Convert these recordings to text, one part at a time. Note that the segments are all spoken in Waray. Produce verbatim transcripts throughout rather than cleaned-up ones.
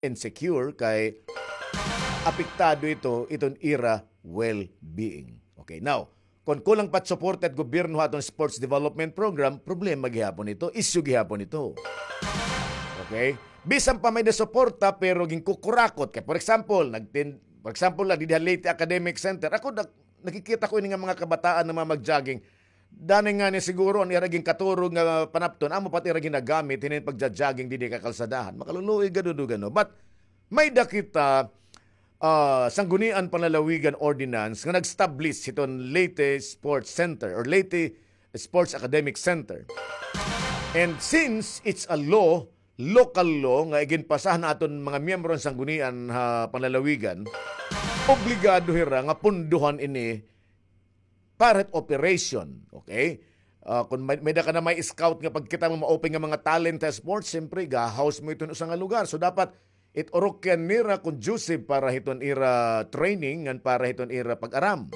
insecure kay apektado ito iton ira well-being. Okay, now, kon kulang pa it suporta it gobyerno ha aton sports development program, problema gihapon ito, issue gihapon ito. Okay? Bisan pa may-ada suporta pero ginkukurakot kay, for example, nagtin-, for example la, didi ha Leyte Academic Center, ako nag-, nakikita ko ini nga mga kabataan nga mga mag-jogging. Danay ngani siguro an ira ginkaturog nga panapton, amo pa it ira ginagamit hinin pagja-jogging didi ha kakalsadahan. Makaluluoy gad, no? But may-ada kita, ah, Sangguniang Panlalawigan Ordinance nga nag-establish hiton Leyte Sports Center or Leyte Sports Academic Center. And since it's a law, local law nga iginpasa han aton mga miyembro han Sanggunian ha panlalawigan, obligado hira nga pundohan ini para hit operation, okay? Ah, kon may, may-ada ka na may scout nga pagkita mo maupay nga mga talent ha sports, siyempre, ga-house mo iton usa nga lugar. So, dapat it urukyan nira conducive para hiton ira training ngan para hiton ira pag-aram.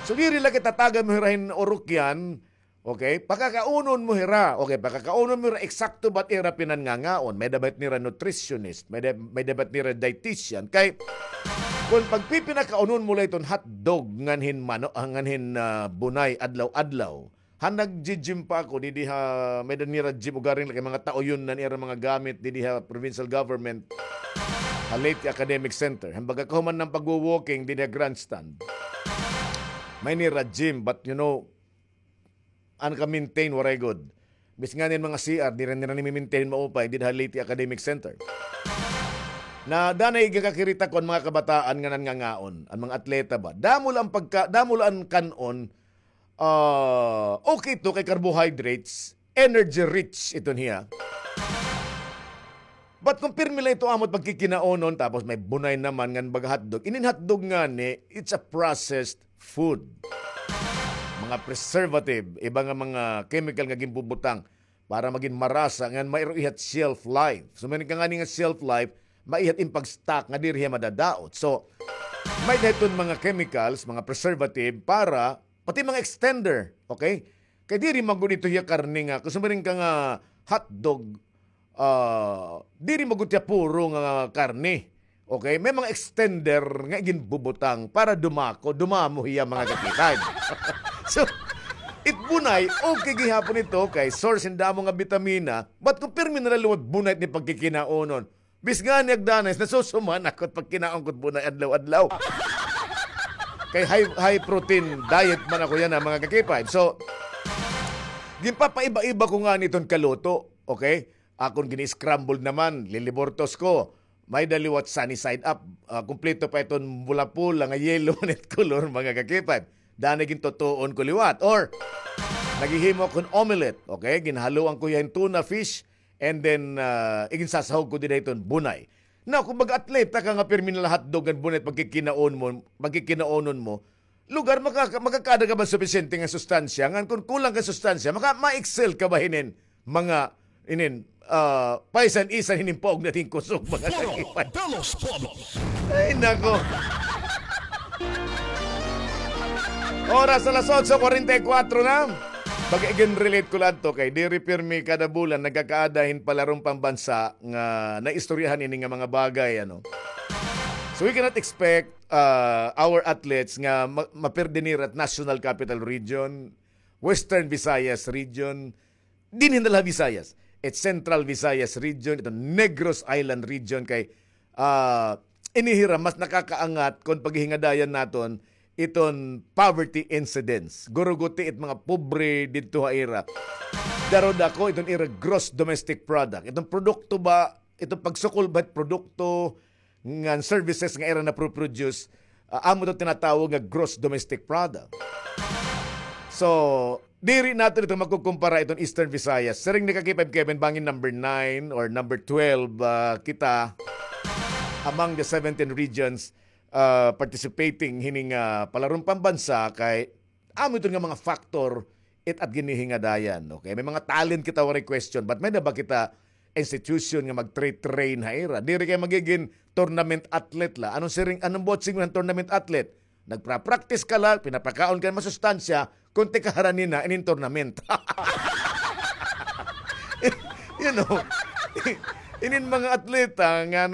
So, diri la kita tagan mo hira hin urukyan, okay? Pakakaunon mo hira, okay? Pakakaunon mo hira, eksakto ba it ira pinanngangaon? May-ada ba it nira nutritionist? May-ada, may-ada ba it nira dietitian? Kay, kon pagpipinakaunon mo la iton hotdog ngan hin mano-, ah, ngan hin, ah, bunay adlaw-adlaw, han nag-gym pa ako, didi ha, may-ada nira gym, ugaring la kay mga tauyon na nira mga gamit, didi ha provincial government, ha Leyte Academic Center. Han baga kahuman han pagwo-walking, didi ha grandstand. May nira gym, but you know, an ka-maintain, waray gud. Bisan ngani an mga C R, diri nira nimi-maintain maupay, didi ha Leyte Academic Center. Na danay gakakirita ko an mga kabataan nga nanngangaon, an mga atleta ba. Damo la an pagka-, damo la an kan-on, ah, okay ito kay carbohydrates, energy rich ito niya. But kon pirmi la ito amo it pagkikinaunon, tapos may bunay naman ngan baga hotdog. Inin hotdog ngani, it's a processed food. Mga preservative, iba nga mga chemical nga ginbubutang para magin marasa, ngan maiha it shelf life. So, may ka ngani nga shelf life, maiha it in pag-stock nga diri hiya madadaot. So, may-ada hiton mga chemicals, mga preservative, para, pati mga extender, okay? Kay diri man gud ito hiya karne nga, kon sumiring ka nga hotdog, ah, diri man gud hiya puro nga karne. Okay? May mga extender nga iginbubutang para dumako, dumamo hiya, mga kakitan. So, it bunay, okay gihapon ito kay source hin damo nga bitamina, but kon pirmi na la liwat bunay it pagkikinaunon, bisan ngani ak danay, nasusuman ako it pagkinaon ko it bunay adlaw-adlaw. Kay high, high protein diet man ako yana, mga ka-K five. So, ginpapaiba-iba ko ngani iton kaluto, okay? Akon gini-scrambled naman, lilibortos ko. May-ada liwat sunny side up, ah, kumpleto pa iton pula-pula nga yellow man it kolor, mga ka-K five. Danay gintutuon ko liwat. Or, naghihimo ako hin omelette, okay? Ginhaluan ko hiya hin tuna fish, and then, ah, iginsasahog ko dida hiton bunay. Now, kon mag-atleta ka nga pirmi na la hotdog ngan bunay pagkikinaon mo, pagkikinaonon mo, lugar, makaka-, makakaada ka ba supisyente nga sustansya? Ngan kon kulang ka sustansya, maka-, ma-excel ka ba hinin mga, inin, ah, paisan-isan hinin paog na hin kusog, mga Foro ka-K five. De los Pueblos. Ay, nako. Oras alas otso kuwarenta y kuwatro na. Baga iginrelate ko la adto kay diri pirmi kada bulan nagkakaada hin palaron pambansa nga naistoryahan ini nga mga bagay, ano. So we cannot expect, ah, our athletes nga ma-, maperde nira it National Capital Region, Western Visayas Region, dinhi na la ha Visayas, it Central Visayas Region, iton Negros Island Region, kay, ah, ini hira mas nakakaangat kon paghihingadayan naton iton poverty incidence. Guruguti it mga pobre didto ha ira. Daro-dako iton ira gross domestic product. Iton produkto ba, iton pagsukol ba it produkto, ngan services nga ira napro-produce, ah, amo ito tinatawag nga gross domestic product. So, diri naton ito makukumpara iton Eastern Visayas. Siring ni ka-K five Kevin, bangin number nine or number twelve, ah, kita among the seventeen regions, ah, participating hining, ah, palaron pambansa kay amo ito nga mga factor it at ginhihingadayan. Okay, may mga talent kita, waray question, but may-ada ba kita institution nga mag-tra-train ha ira? Diri kay magigin tournament athlete la. Anong siring, anong buot siring han tournament athlete? Nagpra-practice ka la, pinapakaon ka hin masustansya, kon tikaharan nina inin tournament. You know, Inin mga atleta nga